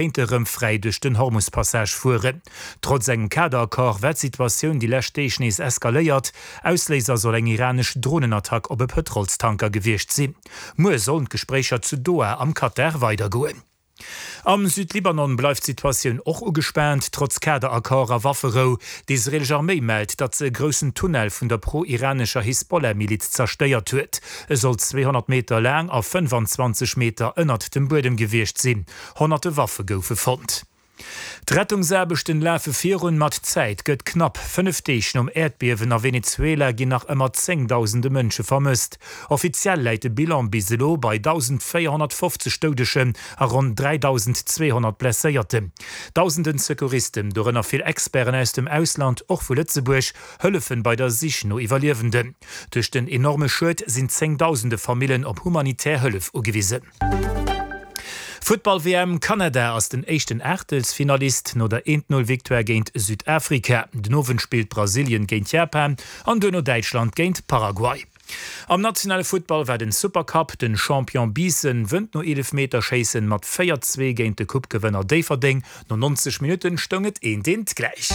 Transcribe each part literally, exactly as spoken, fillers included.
Kéinte rëm fräi duerch den Hormus-Passage fueren. Trotz engem Kaderaccord war d'Situatioun déi lescht Deeg nees eskaléiert. Ausléiser soll eng iranesch Dronenattack op e Pëtrolstanker gewiescht sinn. Muer sollen d'Gespréicher zu Doha am Katar weidergoen. Am Südlibanon bleift d'Situatioun och ugespaant, trotz Kaderaccord a Wafferou. D'israeelesch Arméi mellt, datt se e groussen Tunnel vun der pro-iranescher Hisbollah-Miliz zerstéiert huet. E soll zweehonnert Meter laang a fënnefanzwanzeg Meter ënnert dem Buedem gewiescht sinn. Honnerte Waffe goufe fonnt. D'Rettungsaarbechten lafe virun, ma d'Zäit gëtt knapp. Fënnef Deeg nom Äerdbiewen a Venezuela ginn nach ëmmer zéngdausende Mënsche vermësst. Offiziell läit de Bilan bis elo bei dausendvéierhonnertfofzeg Doudegen a ronn dräidausendzweehonnert Blesséierten. Dausenden Secouristen, dorënner vill Experten aus dem Ausland, och vu Lëtzebuerg, hëllefen bei der Sich no Iwwerliewenden. Duerch den enorme Schued sinn zéngdausende Famillen op humanitär Hëllef ugewisen. Futtball-W M, Kanada ass den éischten Aachtelsfinalist no der Eent-Null-Victoire géint Südafrika. Den Owend spillt Brasilien géint Japan an duerno Däitschland géint Paraguay. Am nationale Futtball war den Supercup, Den Champion Biissen wënnt no Eelefmeterschéissen mat véier, zwee géint de Coupe-Gewënner Déifferdeng. No neunzeg Minutten stoung et eent, eent gläich.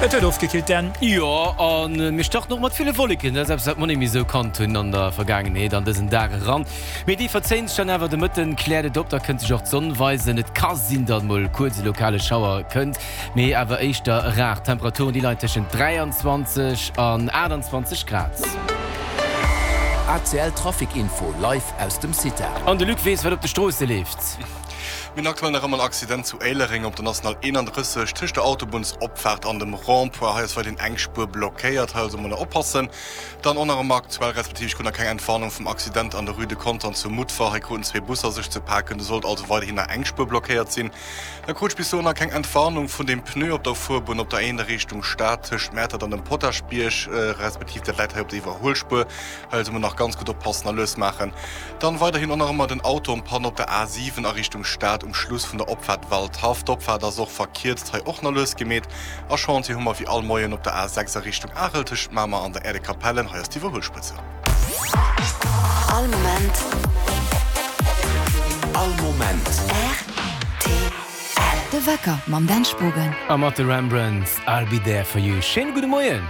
Et huet ofgekillt, Dan. Jo, a mir starten och mat ville Wolleken. Dat ass eppes, wat mer net méi esou kannt hunn an der Vergaangenheet an dësen Dag eran. Mee déi verzéien sech dann awer. De Mëtten kläert et op, da kënnt sech och d'Sonn weisen. Et ka sinn, datt mol kuerz e lokale Schauer kënnt, mee awer éischter rar. D'Temperaturen, déi leien tëschent dräianzwanzeg an aachtanzwanzeg Grad. A C L Trafic Info live aus dem CITA. An de Luc weess, wat op de Stroosse leeft. Mir hunn aktuell nach ëmmer en Accident zu Éilereng op der National eenandrësseg tëscht der Autobunnsopfaart an dem Rond-point. Hei ass weiderhin eng Spuer blockéiert, hei also mol nach oppassen. Dann och nach ëmmer aktuell, respektiv ech krut nach keng Entwarnung vum Accident an der Rue de Contern zu Mutfer. Hei kruten zwee Busser sech ze paken, do sollt also weiderhin nach eng Spuer blockéiert sinn. Da krut ech bis elo nach keng Entwarnung vun dem Pneu op der Fuerbunn op der Eent a Richtung Stad tëscht Mäertert an dem Potaschbierg, respektiv dat läit hei op der Iwwerhuelspuer. Hei also mol nach ganz gutt oppassen a lues maachen. Dann weiderhin och nach ëmmer den Auto en panne op der A siwen a Richtung Stad um Schluss vun der Opfaart Waldhaff. D'Opfaart ass och verkierzt, hei och nach lues gemeet. A Chantier hu mer wéi all Moien op der A sechs a Richtung Arel tëschent Mamer an der Aire de Capellen. Hei ass d'Iwwerhuelspuer zou. All Moment. All Moment. R T L. De Wecker mam Dan Spogen. A mat de Rembrandts, I'll be there for you. Schéine gudde Moien.